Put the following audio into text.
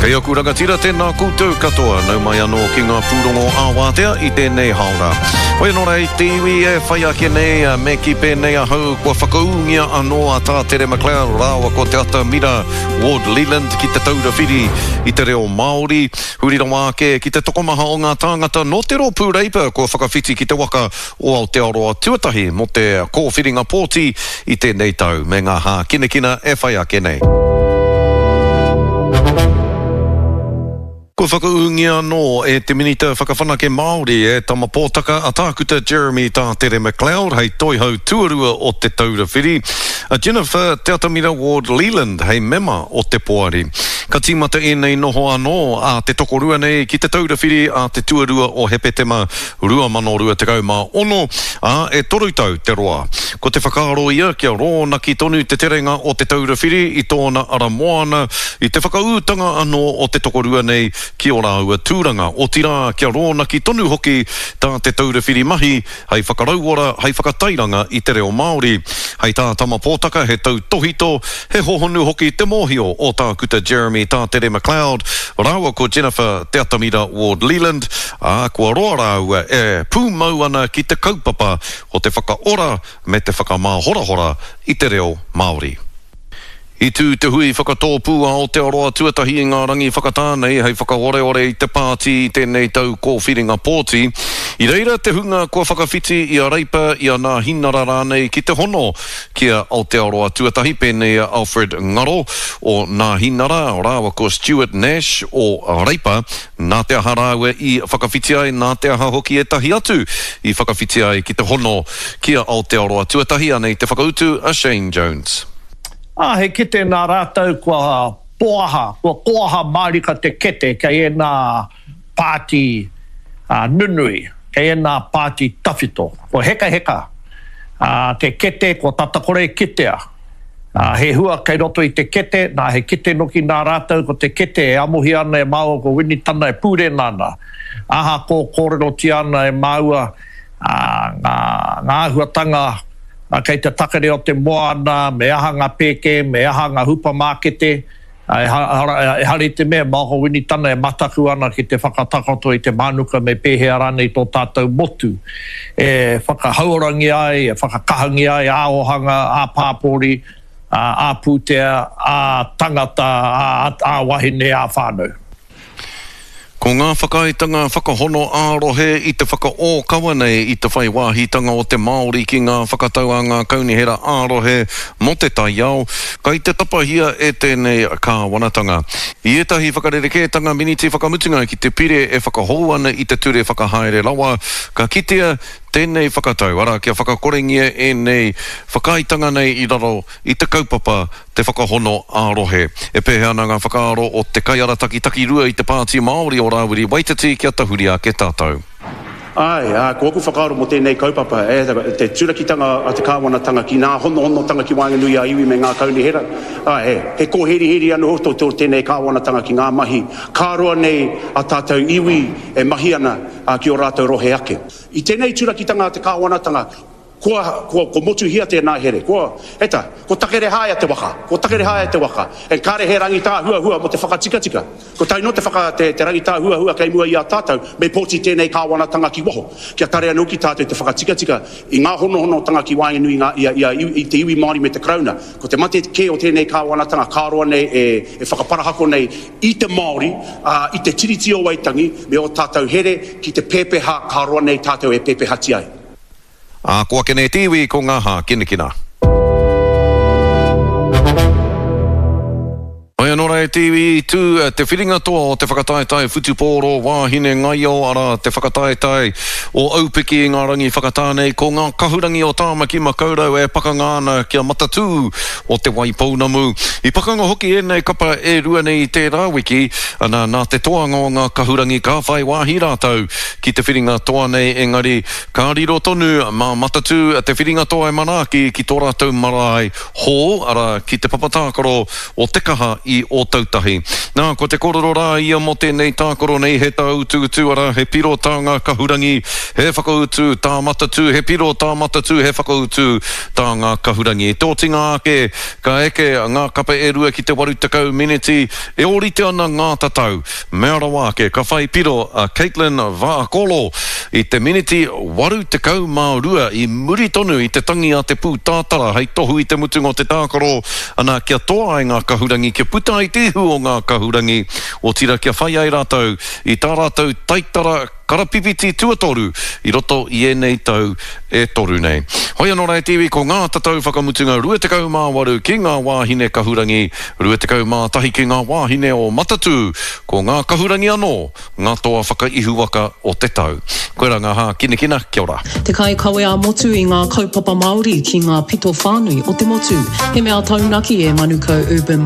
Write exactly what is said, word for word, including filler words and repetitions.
Kei aku rangatira, tēnā koutou katoa, nau mai anō ki ngā pūrongo ā-wātea i tēnei haora. Hoi anō rei, te iwi e whai ake nei, me ki pēnei ahau, kua whakaūngia anō a Tā Tere McLeod rāua ko Te Atamira Ward Leland ki te Taura Whiri i te reo Māori. Huri rawa ake ki te tokomaha o ngā tāngata nō te rōpū Reipa kua whakawhiti ki te waka o Aotearoa tuatahi mō te kōwhiringa pōti i tēnei tau me ngā hākinakina e whai ake nei. Kua whakaūngia anō e te Minita Whakawhanake Māori e Tama Pōtaka a Tākuta Jeremy Tātere McLeod hei toihau tuarua o Te Taura Whiri, a Jennifer Te Atamira Ward Leland hei mema o te poari. Ka tīmata ēnei noho anō a te tokorua nei ki Te Taura Whiri a te tuarua o Hepetema rua mano rua tekau mā ono, ā, e toru tau te roa. Ko te whakaaro ia kia rōnaki tonu te terenga o Te Taura Whiri i tōna ara moana i te whakaūtanga anō o te tokorua nei ki ō rāua tūranga, otirā kia rōnaki tonu hoki tā Te Taura Whiri mahi hei whakarauora, hei whakatairanga i te reo Māori. Hei tā Tama Pōtaka he tautohito, he hohonu hoki te mōhio o Tākuta Jeremy Tātere McLeod rāua ko Jennifer Te Atamira Ward Leland, ā, kua roa rāua e pūmau ana ki te kaupapa o te whakaora me te whakamāhorahora i te reo Māori. I tū te hui whakatōpū a Aotearoa tuatahi i ngā rangi whakatā nei hei whakaoreore i te pāti i tēnei tau kōwhiringa pōti. I reira te hunga kua whakawhiti i a Reipa, i a Nāhinara rānei ki te hono ki a Aotearoa tuatahi, pēnei a Alfred Ngaro o Nāhinara rāua ko Stuart Nash o Reipa. Nā te aha rāua i whakawhiti ai, nā te aha hoki ētahi atu i whakawhiti ai ki te hono ki a Aotearoa tuatahi, anei te whakautu a Shane Jones. Ā, he kete nā rātou kua poaha, kua koaha mārika te kete kei ēnā pāti nunui, kei ēnā pāti tawhito. Kua hekaheka te kete, kua tata kore kitea. He hua kei roto i te kete, nā he kete noki nā rātou ko te kete e amohia ana e māua ko Winitana e pūrena ana. Ahakoa kōrerotia ana e māua ngā āhuatanga kei te takere o te moana, me aha ngā pēke, me aha ngā hupamākete, ehara i te mea, Māoko Winitana e mataku ana ki te whakatakoto i te mānuka me pēhea rānei tō tātou motu e whakahauorangia ai, e whakakahangia ai ā-ōhanga, ā-pāpori, ā-pūtea, ā-tangata, ā-wahine, ā-whānau. Ko ngā whakaaetanga whakahono ā-rohe i te whakaōkawa nei i te whai wāhitanga o te Māori ki ngā whakatau a ngā kaunihera ā-rohe mō te taiao, kai te tapahia e tēnei kāwanatanga. I ētahi whakarerekētanga miniti whakamutunga ki te pire e whakahou ana i te ture whakahaere rawa, ka kitea tēnei whakatau, arā kia whakakorengia ēnei whakaaetanga nei i raro i te kaupapa te whakahono ā-rohe. E pēhea ana ngā whakaaro o te kaiarataki takirua i te Pāti Māori o Rāwiri Waititi kia tahuri ake tātou. Āe, ā, ko aku whakaaro mō tēnei kaupapa, e, te turakitanga a te kāwanatanga ki ngā honohonotanga ki waenganui a iwi me ngā kaunihera, āe, he kōheriheri anō tō tō tēnei kāwanatanga ki ngā mahi ka roa nei a tātou iwi e mahi ana ki ō rātou rohe ake. I tēnei turakitanga a te kāwanatanga, kua, kua, kua motuhia tēnā here, kua, eta, ko takerehaea te waka, ko takerehaea te waka, e kāre he rangitāhuahua mō te whakatikatika. Ko tae noa te whaka, te, te rangitāhuahua kei mua i a tātou, me pōti tēnei kāwanatanga ki waho, kia tare anō ki tātou te whakatikatika i ngā honohonotanga ki waenganui i ngā, i a, i a, i te iwi Māori me te Karauna. Ko te mate kē o tēnei kāwanatanga ka roa nei e, e whakaparahako nei i te Māori, ā, i te Tiriti o Waitangi me ō tātou here ki te pēpeha ka roa nei tātou e pēpehati ai. Ā, ko ake nei te iwi ko ngā hākinakina. Hoi anō rā e te iwi, i tū te whiringa toa o te whakataetae whutupōro wāhine ngaio, arā, te whakataetae o Aupiki i ngā rangi whakatā nei, ko ngā kahurangi o Tāmaki Makaurau e pakanga ana kia matatū o Te Waipounamu. I pakanga hoki ēnei kapa e rua nei i tērā wiki, ana, nā te toanga o ngā kahurangi ka whai wāhi rātou ki te whiringa toa nei, engari ka riro tonu mā Matatū te whiringa toa e manaaki ki tō rātou marae hou, arā, ki te papa tākaro o Te Kaha i Ōtautahi. Nā, ko te kōrero rā ia mō tēnei tākaro nei he tāutuutu, arā, he piro tā ngā kahurangi, he whakautu tā Matatū, he piro tā Matatū, he whakautu tā ngā kahurangi. I te otinga ake, ka eke ngā kapa e rua ki te waru tekau meneti, e ōrite ana ngā tatau. Mea rawa ake, ka whai piro a Kaitlyn Vaakolo i te meneti waru tekau mā rua i muri tonu i te tangi a te pūtātara hei tohu i te mutunga o te tākaro, ana, kia toa ai ngā kahurangi, kia puta ai te ihu o ngā kahurangi, otirā kia whai ai rātou i tā rātou taitara karapipiti tuatoru i roto i ēnei tau e toru nei. Hoi anō rā e te iwi, ko ngā tatau whakamutunga rua tekau mā waru ki ngā wāhine kahurangi, rua tekau mā tahi ki ngā wāhine o Matatū, ko ngā kahurangi anō ngā toa whakaihuwaka o te tau. Koirā ngā hākinakina, kia ora. Te kaikawe ā-motu i ngā kaupapa Māori ki ngā pito whānui o te motu. He mea taunaki e Manukau Urban